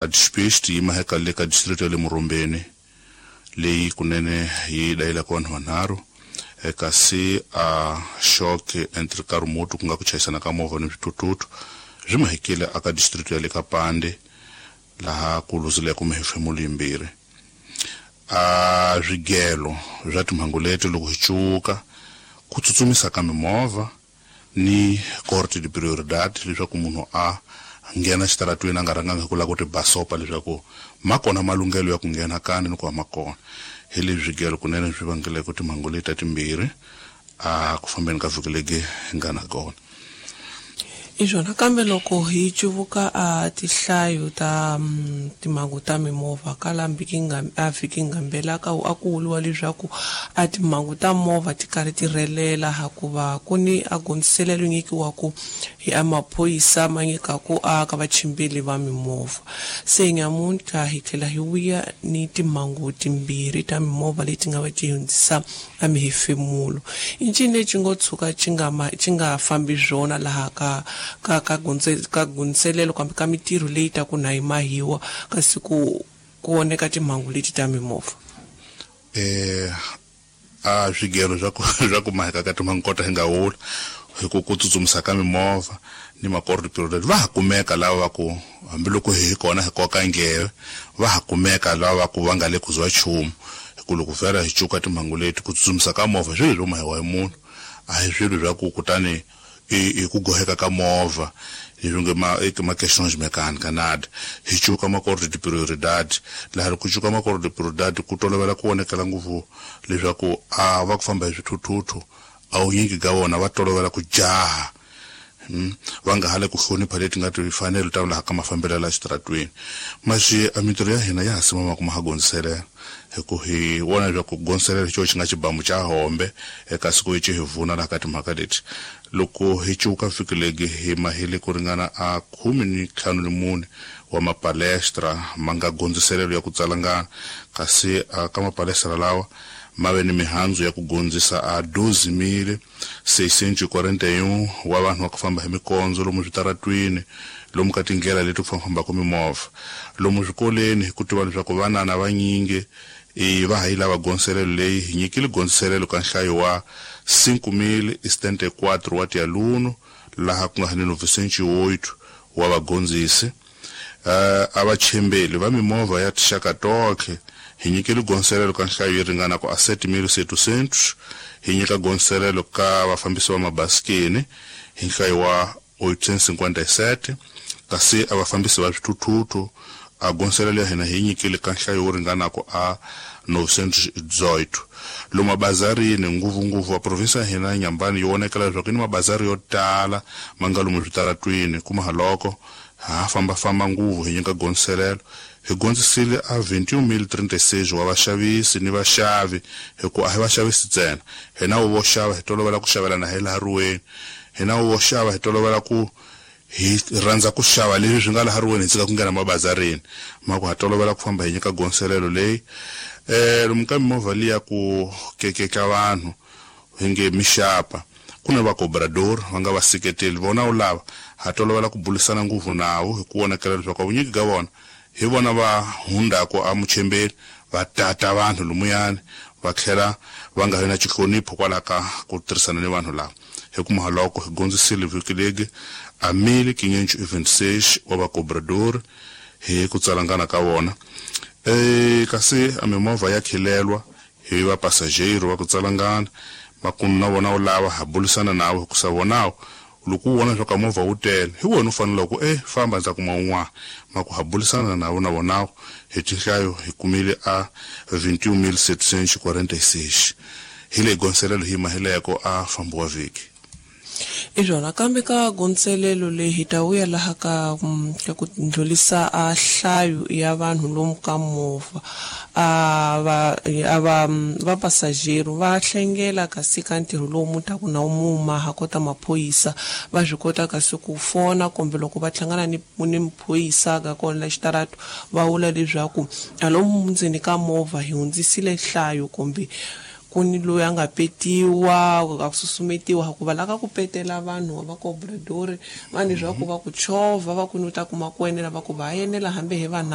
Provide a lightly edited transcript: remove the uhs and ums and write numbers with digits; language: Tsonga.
Dispatch yi maheka le ka district ya le Murumbeni leyi kunene yi dayilaka vanhu vanharhu, kasi a shock entre ka remote ku nga ku chayisana ka movha ni swithuthuthu swi mahekile aka district ya le ka Pande laha ku luzileke mihefemulo yimbirhi. A swigelo swa timhangu leti loko hi cuka ku tsutsumisa ka mimovha ni corte de prioridade leswaku munhu a nghena xitaratweni a nga rhangangi hi ku lava ku ti basopa leswaku ma kona malunghelo ya ku nghena kani ni ku ma kona. Hi leswi swigelo kunene swi vangeleke timhangu leti ta timbirhi a ku fambeni ka vhiki legi hi nga na kona. I swona kambe loko hi cuvuka a tihlayo ta timhangu ta mimovha ka la a vhiki ngambela ka a ku vuriwa leswaku a timhangu ta movha ti karhi ti rhelela hakuva ku ni a gondziselelo nyikiwaku hi a maphorisa ma nyikaku a ka vachimbeli va mimovha. Se nyamuntlha hi tlhela hi vuya ni timhangu timbirhi ta mimovha leti nga va ti hundzisa a mihefemulo. I ncini lexi ngo tshuka xi nga ma xi nga fambi swona laha ka ka ka ka gondzelelo kambe ka mitirho leyi ta ku na yi mahiwa kasi ku ku voneka timhangu leti ta mimovha? A swigelo swa ku swa ku maheka ka timhangu kota hi nga wula hi ku ku tsutsumisa ka mimovha ni makordo va ha kumeka lava va ku hambiloko hi kona hi koka ndleve va ha kumeka lava va ku va nga le ku zwa nchumu. Hi ku loko vhela hi cuka timhangu leti ku tsutsumisa ka movha swilo swo mahiwa hi munhu a hi swilo swa ku kutani i ku goheka ka movha leswi nge ma i ma questions mecânica nada. Hi cuka makordo de prioridade laha loko ku cuka makordo de prioridade ku tolovela ku vonekela ngopfu leswaku a va ku famba hi swithuthuthu a wunyingi ka vona va tolovela ku jaha, va nga ha le ku hlonipha leti nga timfanelo ta laha ka mafambelo ya xitaratweni. Maxi a mintirho ya hina ya ha simama ku ma ha gondziselela hi ku hi vona leswaku ku gondziselela hi xona xi nga xibamu xa hombe eka siku hi hi vuna laha ka timhaka leti. Loko hi cuka vhiki legi hi mahile ku ringana a 14 wa mapalestra ma nga gondziselelo ya ku tsalangana, kasi ka mapalestra lawa ma ve ni mihandzu ya ku gondzisa a 12,641 wa vanhu va ku famba hi mikondzo lomu switaratwini, lomu ka tindlela leti ku fambafambaka mimovha, lomu swikolweni hi ku tiva leswaku vanana vanyingi i va ha yi lava gondziselelo leyi. Hi nyikile gondziselelo ka nhlayo wa 5,074 wa tialuno laha ku nga ni 908 wa vagondzisi. A vachembeli va mimovha ya tinxaka tonkhe hi nyikile gondziselelo ka nhlayo yi ringana ku a 7,700. Hi nyika gondziselelo ka vafambisi va mabasikeni hi nhlayo wa 857, kasi a vafambisi va swithuthuthu a gondziselelo ya hina hi nyikile ka nhlayo wo ringana ku a 918. Lomu mabazarini ngopfungopfu wa provinsi ya hina ya Nyambani yi vonekela leswaku yi ni mabazari yo tala ma nga lomu switaratwini kuma haloko ha fambafamba ngopfu hi nyika gondziselelo. Hi gondzisile a 21,036 wa vaxavisi ni vaxavi, hi ku a hi vaxavisi ntsena, hina vo xava hi tolovela ku xavelana hi laha riweni, hina vo xava hi tolovela ku hi rhandza ku xava leswi swi nga laha riweni hi tshika ku nghena mabazarini ma ku ha tolovela ku famba hi nyika gondziselelo leyi. Lomu ka mimovha liya ku kekeka vanhu hi nge mixapa ku na vakobrador va nga vaseketeli vona wu lava ha tolovela ku bulisana ngopfu navo hi ku vonakela leswaku vunyingi ka vona hi vona va hundzaka a muchembeni va tata vanhu lomuyani va tlhela va nga vi na xihlonipho kwalaho ka ku tirhisana ni vanhu lava. Hi ku mahaloko hi gondzisile vhiki legi a 1,526 wa vakobrador hi ku tsalangana ka vona. Kasi a mimovha ya khilelwa hi va passageiro va ku tsalangana makumu na vona wu lava ha bulisana navo hikusa vonawo loko u vona leswaku movha wu tele hi wena u fanele ku famba ndza kuma un'wana ma ku ha bulisana navo na vonawo hi tinhlayo hi kumile a 21,746 hi leyi gondziselelo hi mahileko a fambo wa vhiki. I swona kambe ka gondzelelo leyi hi ta vuya laha ka ka ku ndlhulisa a nhlayo ya vanhu lomu ka movha a va a va va passageiro va hlengela kasi ka ntirho lowu mu taku na wu maha kota maphorisa va swi kota kasi ku fona kumbe loko va hlangana ni ni maphorisa ka kona la xitarato va vula leswaku a lomu ndzeni ka movha hi hundzisile nhlayo kumbe Ku ni loyi a nga petiwa, a ku susumetiwa, hikuva la ka ku petela vanhu va cobradori vanhu leswaku va ku chovha, va ku ni u ta kuma ku enela, va ku va enela hambi hi vanharhu.